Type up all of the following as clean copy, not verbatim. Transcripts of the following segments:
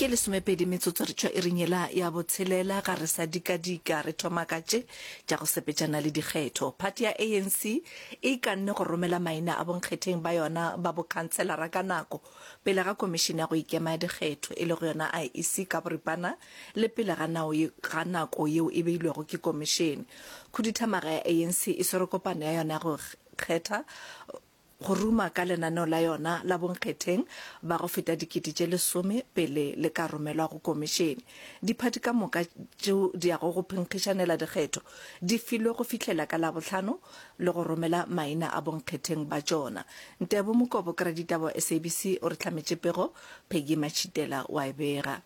Ke lesomepedi metsotso re tšwa iring yela ya botshelela, ga re sa dikadika re thoma ka tše tša go sepetšana le dikgetho. Phathi ya ANC e ikanne go romela maina a bonkgetheng ba yona ba bokhanselara ka nako pele ga Komišene ya go Ikema ya Dikgetho, e lego yona IEC ka boripana le pele ga nao ga nako yeo e beilwego ke komišene. Khuduthamaga ya ANC e swere kopano ya yona ya go kgetha go ruma ka lenaneo la yona la bonkgetheng ba go feta dikete tše lesome pele le ka romelwa go komišene. Diphathi ka moka tšeo di yago go phenkgišanela dikgetho di filwe go fihlela ka Labohlano le go romela maina a bonkgetheng ba tšona. Ntebo Mokobo, Raditaba wa SABC o re hlametše pego, Peggy Matšhitela o a e bega.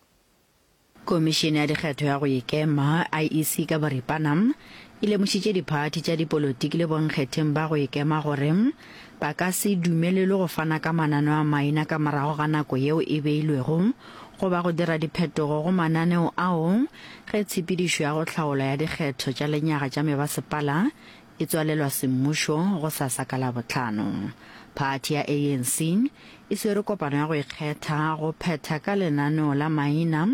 Komišene ya Dikgetho ya go Ikema, IEC ka boripana, e lemošitše diphathi tša dipolotiki le bonkgetheng ba go ikema gore ba ka se dumelelwe go fana ka mananeo a maina ka morago ga nako yeo e beilwego goba go dira diphetogo go mananeo ao ge tshepedišo ya go hlaolwa ya dikgetho tša lenyaga tša mebasepala e tswalelwa semmušo gosasa ka Labohlano. Phathi ya ANC e swere kopano ya go ikgetha go phetha ka lenaneo la maina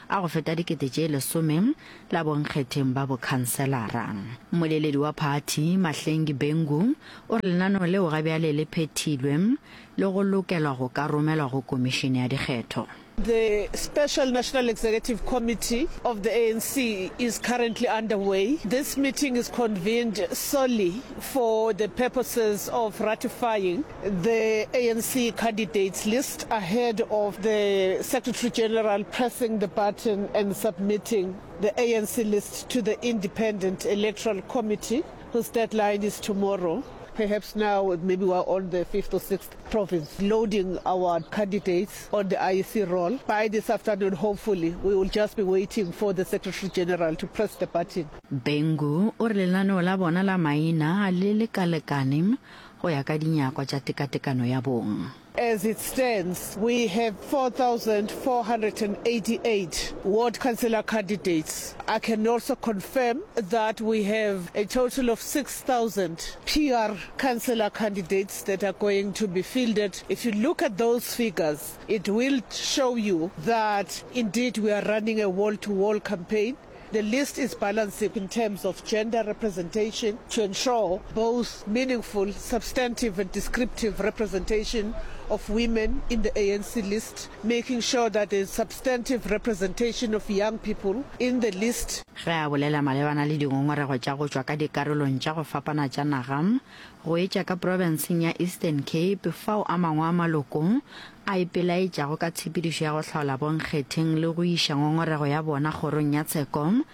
a go feta 10,000 la bonkgetheng ba bokhanselara. Mmoleledi wa phathi, Mahlengi Bhengu, o re lenaneo leo ga bjale le phethilwe le go lokelwa go ka romelwa go komišene ya dikgetho. The Special National Executive Committee of the ANC is currently underway. This meeting is convened solely for the purposes of ratifying the ANC candidates list ahead of the Secretary General pressing the button and submitting the ANC list to the Independent Electoral Committee, whose deadline is tomorrow. Perhaps now maybe we're on the fifth or sixth province loading our candidates on the IEC roll. By this afternoon, hopefully, we will just be waiting for the Secretary General to press the button. Bhengu o re lenaneo la bona la maina le lekalekane go ya ka dinyakwa tša tekatekano ya bong. As it stands, we have 4,488 ward councillor candidates. I can also confirm that we have a total of 6,000 PR councillor candidates that are going to be fielded. If you look at those figures, it will show you that indeed we are running a wall-to-wall campaign. The list is balanced in terms of gender representation to ensure both meaningful, substantive and descriptive representation of women in the ANC list, making sure that there's substantive representation of young people in the list. Ge a bolela malebana le dingongorego tša go tšwa ka dikarolong tša go fapana tša naga, go etša ka profenseng ya Eastern Cape fao a mangwe a maloko a ipelaetšago ka tshepedišo ya go hlaola bonkgetheng le go iša ngongorego ya bona kgorong ya tsheko,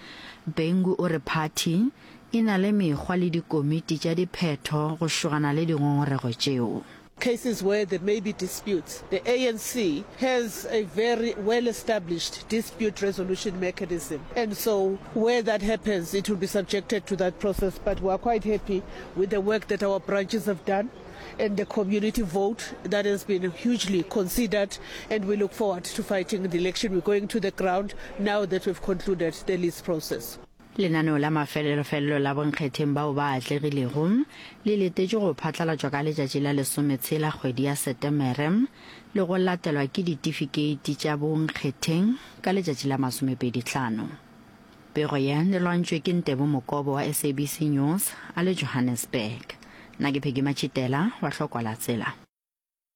Bhengu o re phathi e na le mekgwa le dikomiti tša diphetho go šogana le dingongorego tšeo. Cases where there may be disputes, the ANC has a very well established dispute resolution mechanism and so where that happens it will be subjected to that process but we are quite happy with the work that our branches have done and the community vote that has been hugely considered and we look forward to fighting the election. We're going to the ground now that we've concluded the list process. Lenaneo la mafelelofelelo la bonkgetheng bao ba atlegilego le letetšwe go phatlalatšwa ka letšatši la lesometshela kgwedi ya Setemere le go latelwa ke ditifikeiti tša bonkgetheng ka letšatši la masomepedihlano. Pego ye e lwantšwe ke Ntebo Mokobo wa SABC News a le Johannesburg. Nna ke Peggy Matšhitela wa Hlokwa la Tsela.